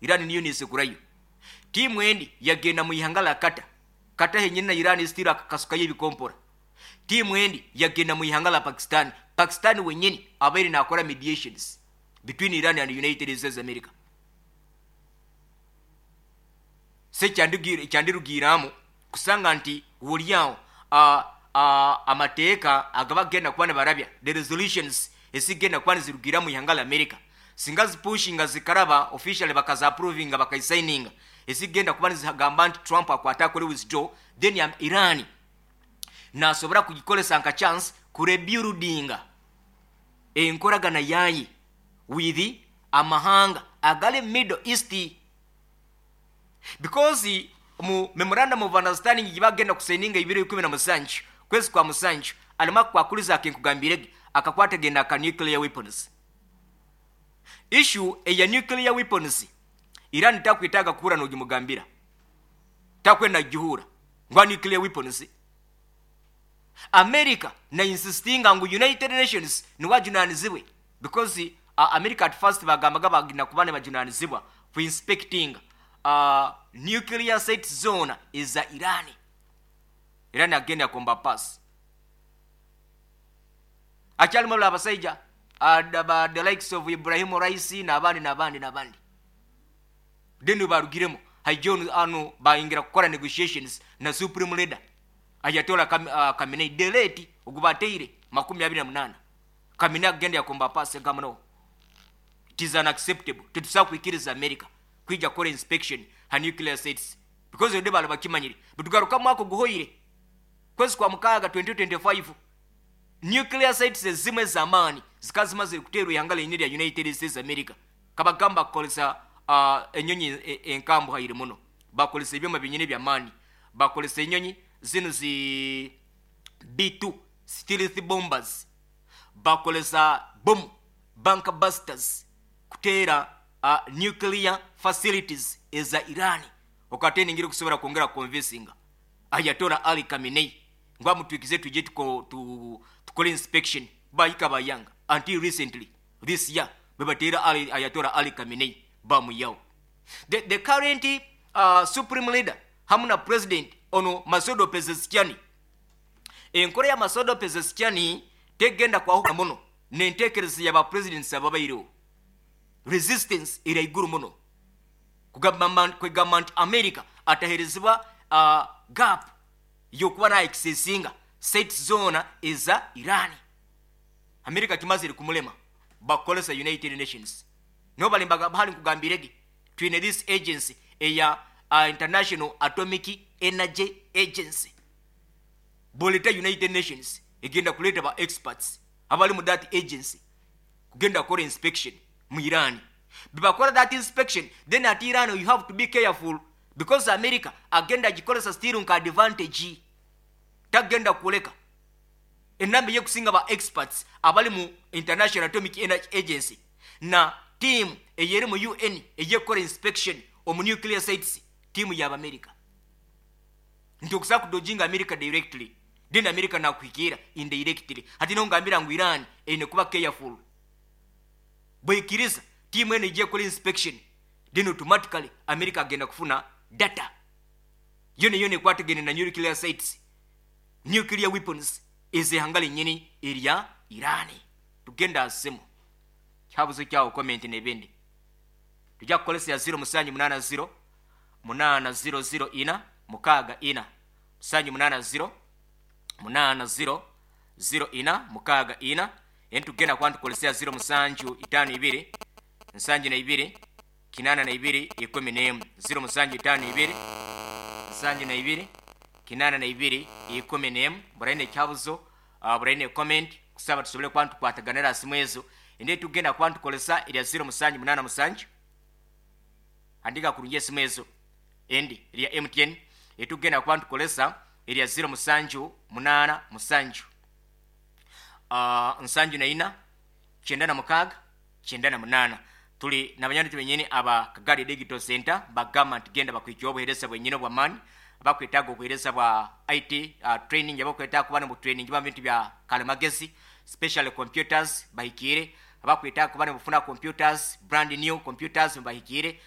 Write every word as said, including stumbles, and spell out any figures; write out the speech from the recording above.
Iran niyo nesekurayo. Tiimu endi yagenda mu ihanga la Qatar. Qatar henyini na Iran still akakasukayo ebikompora. Tiimu endi yagenda mu ihanga la Pakistan. Pakistan wenyini abaire nakora mediations between Iran and United States America. So ekyandirugiiramu kusanga nti woliawo uh, uh, amateeka agaba genda kuba nibarabya, the resolutions ezigenda kuba nizirugira mu ihanga la America, singa zipushinga zikaraba officially, bakaza approvinga, bakayisigninga, ezigenda kuba nizigamba nti Trump akwata akore withdraw, then Iran nasobora kugikolesa nka chance kurebuildinga enkoragana yaye with amahanga agali Middle East, because mu memorandum of understanding gibagenda kusigninga ibiro ikumi na musanju kwezi kwa musanju, alimu akwakuliza akenkugambirege akakwatagenda aka nuclear weapons. Issue eya nuclear weapons, Iran takwetaaga kuhura nogimugambira, takwenda gihura ngwa nuclear weapons. America na insistinga ngu United Nations niwajunanizibwe, because uh, America at first bagambaga bagina kuba nibajunanizibwa for inspecting uh, nuclear site zona eza Iran. Iran agenda yakomba pass. Akyalimu abasaija uh, the likes of Ibrahim Raisi n'abandi n'abandi n'abandi. Then barugiremu, haija ano bayingira kukora negotiations na supreme leader Ayatollah Kam, uh, Khamenei, the late ogubateire makumi abiri na munana. Khamenei agenda yakomba pass, agamba, "No, it is unacceptable. Tetusobola kwikiriza America kwija kukora inspection ha nuclear sites," because ode bali bakimanyire. Bwetugaruka mwaka oguhoire, kwezi kwa mukaaga twenty twenty-five, nuclear sites ezimu ez'amaani zikaba zimazire kuteerwa ihanga lenyini lya United States America. Kabagamba kukolesa uh, enyonyi enkambuhaire muno, bakolesa ebyoma binyini byamaani, bakolesa enyonyi zino zi B two stealth bombers, bakolesa bomu bunker busters kuteera uh, nuclear facilities eza Iran. Okate ningire kusobola kwongera convincinga Ayatollah Ali Khamenei ngu amutwikize tuje tuko, tu, tukole inspection. Bayika bayanga until recently this year bebateera Ali, Ayatollah Ali Khamenei bamuyawo. the, the current uh, supreme leader hamu na president ono Masoud Pezeshkian, enkola ya Masoud Pezeshkian tegenda kwahuka muno nentekereza ya ba presidents ababaireho. Resistance eri aiguru muno kugamba kwegamba nti America ataherezebwa uh, gap yokuba na accessinga site zona eza Iran. America kimazire kumulema, bakolesa United Nations. Niho balimbaga bahali nkugambirege twine this agency eya uh, International Atomic Energy Agency. Boleta United Nations egenda kuleta ba experts abali mu that agency kugenda kukora inspection mu Iran. Bebakora that inspection, then at Iran you have to be careful, because America agenda agikolesa still nka advantage. Tagenda kuleka enamba eyekusinga ba experts abali mu International Atomic Energy Agency na team eyeri mu U N eyekukora inspection omu nuclear sites, team y'Abamerika, nti okusobola kudodginga America directly, then America nakuhikiira indirectly. Hati nongambira ngu Iran eine kuba careful. Bwekiriza tiimu eno ejja ekola inspection, then automatically America agenda kufuna data yona yona ekwatagene na nuclear sites, nuclear weapons ezehanga lenyini erya Irani. Tugenda asemu kyabuzo kyawo, comment nebindi. Tujja kukolesa ya zero musanju munana zero munana zero zero ina mukaaga ina, musanju munana zero munana zero zero ina mukaaga ina. Eni tugenda kuba ntukolesea zero musanju itaano ibiri nsanju na ibiri kinana na ibiri ikumi n'emu, zero musanju itaano ibiri nsanju na ibiri kinana na ibiri ikumi n'emu. Buraine ekyabuzo, uh, buraine comment, kusaba tusobole kuba ntukwataganira simu ezo. Ende tugenda kuba ntukolesa erya zero musanju munana musanju. Andika kurungi esimu ezo. Endi erya M T N etugenda kuba ntukolesa erya zero musanju munana musanju uh, nsanju na ina kyenda na mukaaga kyenda na munaana. Tuli nabanywanyi benyini aba Kagari Digital Center. Bagamba nti genda bakwikiwa obuhereza bwenyini obwamaani. Abakwetaaga obuhereza bwa I T uh, training, abakwetaaga kuba mu training ba bintu bya kalimagezi, special computers, bahikiire. Abakwetaaga kuba nibufuna computers, brand new computers, bahikiire.